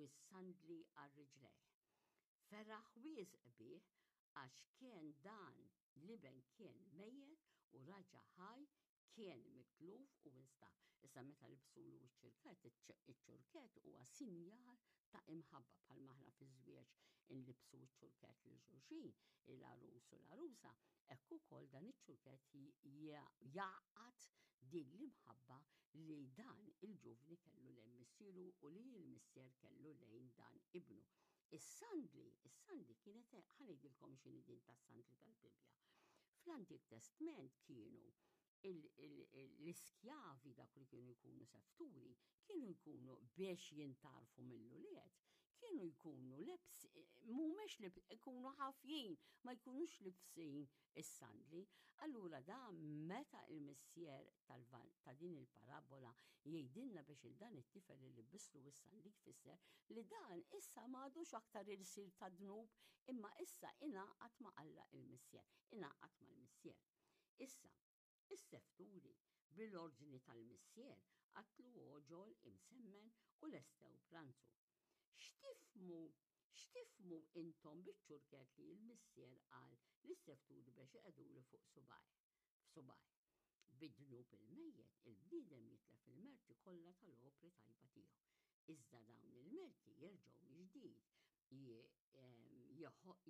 u s-sandli għal riġlejh. Feraħ wisq bih għax kien dan l-iben kien mejjet u raġa' ħaj, kien mitluf u instab. Issa meta libsulu ċ-ċirkett, iċ-ċurkett huwa sinjal ta' imħabba bħalma aħna fiż-żwieġ inlibsu ċ-ċurkett lil xulxin, il-għarus u l-għarusa, hekk ukoll dan iċ-ċurkett jgħaqqad din l-imħabba li dan il-ġuvni kellu lejn missieru u li l-missier kellu lejn dan ibnu. Is-sandli, is-sandli kienet, ħa ngħidilkom x'inhi din tas-sandli tal-Bibbja. Fl-Antik Testment kienu l-iskjavi dak li kienu jkunu sefturi, kienu jkunu biex jintarfu mill-ulied, kienu jkunu lebs, mhumiex li jkunu ħafjin, ma jkunux libsin is-sandli. Allura da meta il-missier ta' din il-parabola jgħidilna biex il dan it-tifel li libbislu is-sandli jfisser li dan issa m'għadux aktar irsir ta' dnub imma issa ingħaqad ma' Alla il-missier, ingħaqad mal-missier. Issa, is-sefturi bil-ordni tal-missier qatlu għoġol imsemmen u lestew pranzu. X'tifhmu, x'tifhmu intom biċ-ċurkett li l-missier qal lis-sefturi biex iqegħdulu fuq subgħajh, f'subgħajh? Bid-dnub il-mejjet, il-bniedem jitlef il-merti kollha tal-opri tajba tiegħu. Iżda dawn il-merti jerġgħu mill-ġdid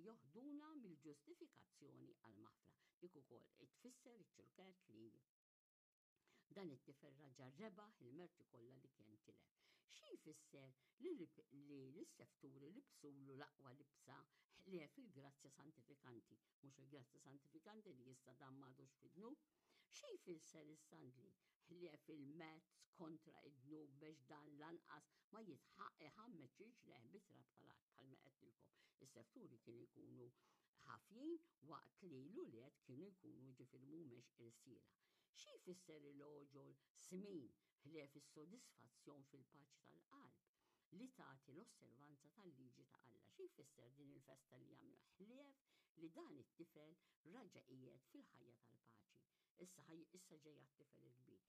joħduna mill-ġustifikazzjoni għall-maħfra. Dik ukoll tfisser iċ-ċurkett li Dan it-tifel raġa' rebaħ il-merti kollha li kien tilef. Xi jfisser li l-sefturi libsulu l-aqwa libsa ħlief il-grazzja santifikanti, mhux il-grazzja santifikanti li issa dan m'għadux fid-dnub? Xi jfisser is-sandli ħlief il-mezz kontra id-dnub biex dan lanqas ma jitħaq iħammeġ riġlejh bit-trab tal-art bħalma għedtilkom. Is-sefturi kienu jkunu ħafjin waqt li l-ulied kienu jkunu ġifieri mhumiex irsiera. Xi jfisser il-għoġol smin ħlief is-sodisfazzjon fil-paċi tal-qalb li tagħti l-osservanza tal-liġi ta' Alla? Xi jfisser din il-festa li jagħmlu ħlief li dan it-tifel raġa' qiegħed fil-ħajja tal-paċi? Issa issa ġejja t-tifel il-kbir.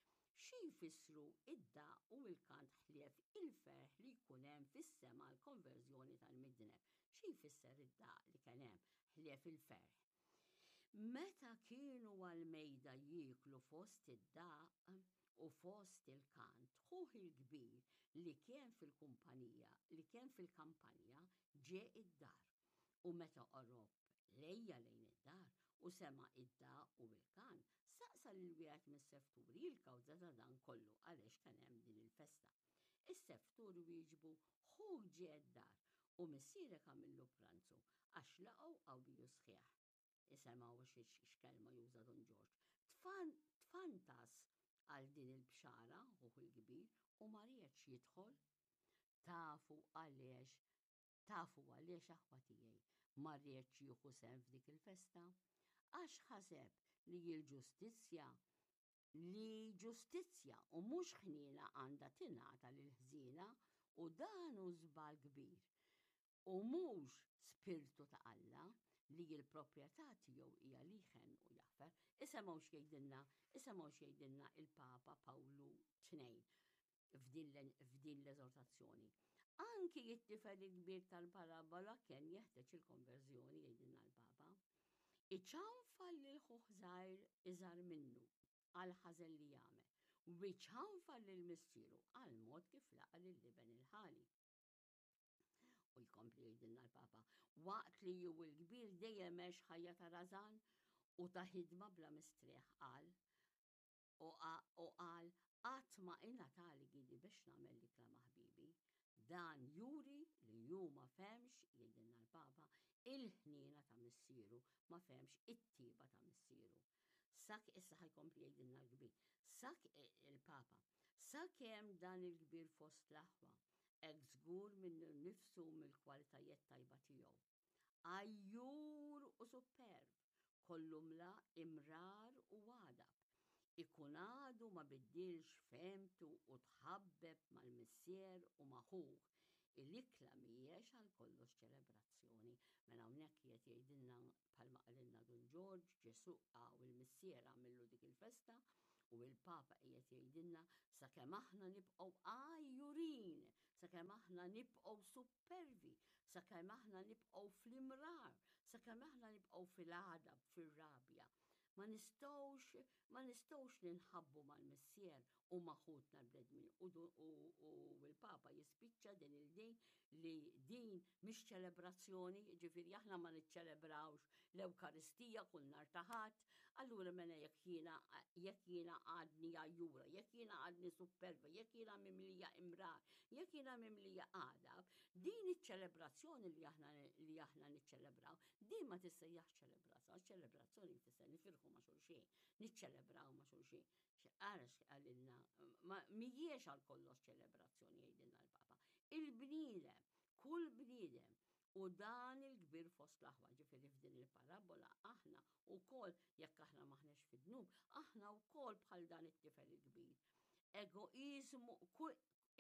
Xi jfissru id-daqq u l-kant ħlief il-ferħ li jkun hemm fis-sema għall-konverżjoni tal-midneb? Xi jfisser id-daqq li kien hemm ħlief il-ferħ? Meta kienu għall-mejda jieklu fost id-daqq u fost il-kant, ħuh il-kbir li kien fil-kumpanija, li kien fil-kampanja, ġie id-dar. U meta qorob lejja lejn id-dar u sema' id-daqq u l-kant, saqsa lil wieħed mis-sefturi l-kawża ta' dan kollu għaliex kien hemm din il-festa. Is-seftur wieġbu, Ħuk ġie d-dar u missierek għamillu pranzu għax laqgħu qawwi u sħiħ. Isemgħu x'kelma juża Dun Ġorġ. Tfantas għal din il-bxara ħuh il-kbir u ma riedx jidħol. Tafu għaliex tafu għaliex aħwa tiegħi ma riedx jieħu sehem f'dik il-festa? Għax ħaseb li l-ġustizzja li ġustizzja u mhux ħniena għandha tingħata lill-ħżiena u dan hu żball kbir u mhux spirtu ta' Alla li l-proprjetà tiegħu hija li jħenn u jaħfer. Isemgħu x'jgħidilna, isemgħu x'jgħidilna il-Papa Pawlu II f'din l-eżortazzjoni. Anki it-tifel il-kbir tal-parabola kien jeħtieġ il-konverżjoni jgħidilna l-Papa. Iċanfal lil ħuh żgħir iżgħar minnu għal ħażen li jagħmel, u iċanfal lil missieru għal mod kif laqa' lil iben il-ħali. U jkompli jgħidilna l-Papa, waqt li hu l-kbir dejjem għex ħajja ta' rażan u ta' ħidma bla mistrieħ qal, U qal, Qatt ma ingħatali gidi biex nagħmel l-ikla ma' ħbiebi. Dan juri li hu ma fehmx, jgħidilna l-Papa, il-ħniena ta' missieru, ma fehmx it-tieba ta' missieru. Sak issa ħa jkompli jgħidilna l-kbir. Sak il-Papa, sakemm dan il-kbir fost l-aħwa, hekk żgur minnu nnifsu u mill-kwalitajiet tajba tiegħu. Għajjur u supperv, kollu mla imrar u għadab. Ikun għadu ma biddilx fehmtu u tħabbeb mal-missier u ma' ħuh. Il-ikla mhijiex għal kollox ċelebrazzjoni. Mela hawnhekk qiegħed jgħidilna bħalma qalilna Dun Ġorġ, Ġesù u l-missier għamillu dik il-festa u l-Papa qiegħed jgħidilna sakemm aħna nibqgħu għajjurin. Sakemm aħna nibqgħu suppervi, sakemm aħna nibqgħu fl-imrar, sakemm aħna nibqgħu fil-għadab, fir-rabja, ma nistgħux ma nistgħux ninħabbu mal-Missier u ma' ħutna l-bnedmin. U l-Papa jispiċċa din il-din li din mhix ċelebrazzjoni, ġifieri aħna ma niċċelebrawx l-Ewkaristija kull nhar ta' Ħadd, allura mela jekk jiena jekk jiena għadni għajjura, jekk jiena għadni supperva, jekk jiena mimlija imrar, jekk jiena mimlija għadab, din iċ-ċelebrazzjoni li aħna li aħna niċċelebraw, din ma tissejjaħx ċelebrazzjoni, ċelebrazzjoni tfisser nifirħu ma' xulxin, niċċelebraw ma' xulxin. Ara x'qalilna, ma mhijiex għal kollox ċelebrazzjoni jgħidilna l-Papa. Il-bniedem, kull bniedem, u dan il-kbir fost l-aħwa, ġifieri f'din il-parabola aħna wkoll jekk aħna m'aħniex fid-dnub, aħna wkoll bħal dan it-tifel il-kbir. Egoiżmu,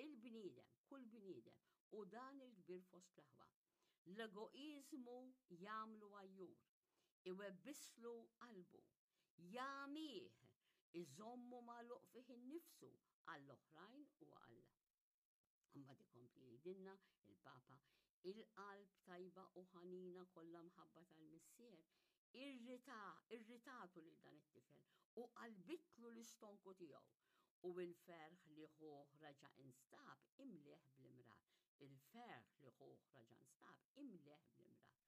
il-bniedem, kull bniedem, u dan il-kbir fost l-aħwa. L-egoiżmu jagħmlu għajjur, iwebbislu qalbu, jagħmih, iżommu magħluq fih innifsu għall-oħrajn u Alla. Imbagħad ikompli jgħidilna il-Papa, il-qalb tajba u ħanina kollha mħabba tal-Missier irrita, irritatu lil dan it-tifel u qalbitlu l-istonku tiegħu u l-ferħ li ħuh raġa' instab imlieh bl-imrar. Il-ferħ li ħuh raġa' nstab imlieh bl-imrar.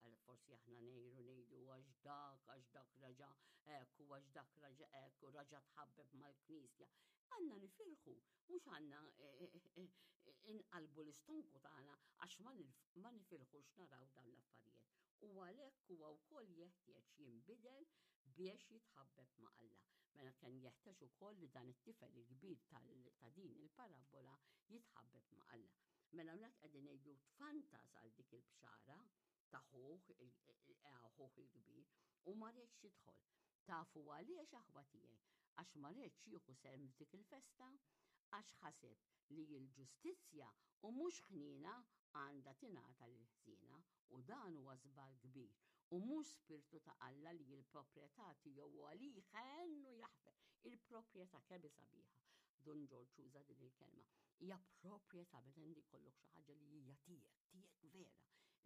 Għal forsi aħna ngħiru ngħidu għax dak, għax dak raġa' hekk u għax dak raġa' hekk u raġa' tħabbeb mal-Knisja. Għandna nifirħu, mhux għandna eh, eh, eh, inqalbu l-istonku tagħna għax ma nifirħux naraw dawn l-affarijiet. U għalhekk huwa wkoll jeħtieġ jinbidel biex jitħabbeb ma' Alla. Mela kien jeħtieġ ukoll li dan it-tifel il-kbir ta' din il-parabbola jitħabbeb ma' Alla. Mela hawnhekk qegħdin ngħidu tfantas għal dik il-bxara ta' ħuh ħuh il-kbir u ma riedx jidħol. Tafu għaliex aħwa tiegħi? Għax ma riedx jieħu sehem f'dik il-festa, għax ħaseb li l-ġustizzja u mhux ħniena għandha tingħata lill-ħżiena u dan huwa żball kbir u mhux spirtu ta' Alla li l-proprjetà tiegħu huwa li jħenn u jaħfer. Il-proprjetà kemm hi sabiħa. Dun Ġorġ uża din il-kelma. Hija proprjetà meta inti jkollok xi ħaġa li hija tiegħek, tiegħek vera.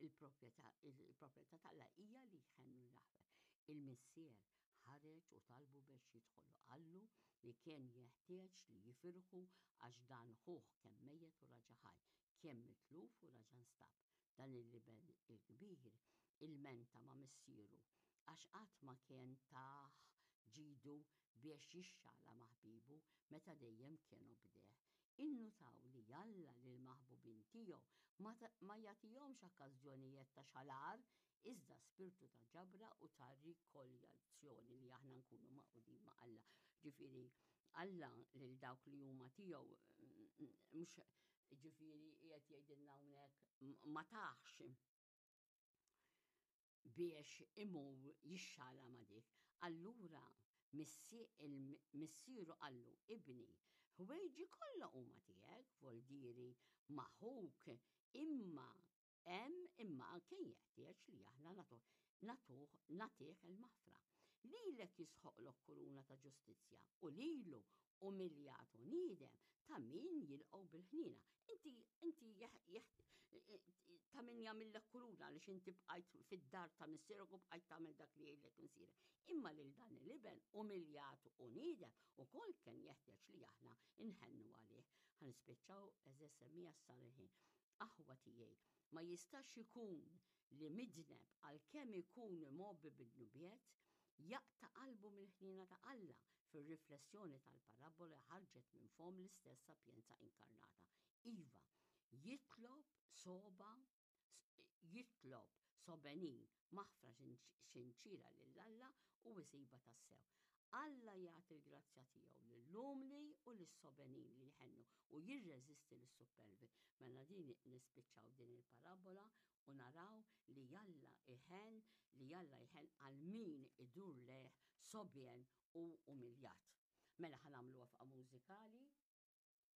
Il-proprjetà il-proprjetà t'Alla hija li jħenn u jaħfer. Il-Missier ħareġ u talbu biex jidħol u qallu li kien jeħtieġ li jifirħu għax dan ħuh kemm mejjet u raġa' ħaj, kien mitluf u raġa' nstab. Dan il-iben il-kbir ilmenta ma' missieru għax qatt ma kien tah ġidu biex jixxala ma' ħbiebu meta dejjem kien obdeh. Innutaw li Alla lill-maħbubin tiegħu ma ma jagħtihomx okkażjonijet ta' xalar iżda spirtu ta' ġabra u ta' rikoljazzjoni li aħna nkunu magħqudin ma' Alla. Ġifieri Alla lil dawk li huma tiegħu mhux ġifieri qiegħed jgħidilna hawnhekk ma taħx biex imur jixxala ma' dik. Allura missieru qallu, ibni, ħwejġi kollha huma tiegħek, voldieri ma' ħuk, imma hemm imma kien jeħtieġ li aħna nagħtuh nagħtuh nagħtih il-maħfra. Lilek jisħoqlok kuruna ta' ġustizzja u lilu umiljat u niedem ta' min jilqgħu bil-ħniena. Inti inti ta' min jagħmillek kuruna għaliex inti bqajt fid-dar ta' missierek u bqajt tagħmel dak li jgħidlek missierek. Imma lil dan l-iben umiljat u niedem ukoll kien jeħtieġ li aħna nħennu għalih. Ħa nispiċċaw għeżież semmiegħa sar il-ħin. Aħwa tiegħi, ma jistax ikun li midneb għalkemm ikun imgħobbi bid-dnubiet, jaqta' qalbu mill-ħniena ta' Alla fir-riflessjoni tal-parabbola li ħarġet minn fomm l-istess Sapjenza Inkarnata. Iva, jitlob sogħba, jitlob sobenin maħfra xinċira lil Alla u jsibha tassew. Alla jagħti l-grazzja tiegħu lill-umli u lis-sobenin li jħennu u jirreżisti lis-suppervi. Mela din nispiċċaw din il-parabbola u naraw li Alla jħenn, li Alla jħenn għal min idur lejh sobjen u umiljat. Mela ħa nagħmlu waqfa mużikali.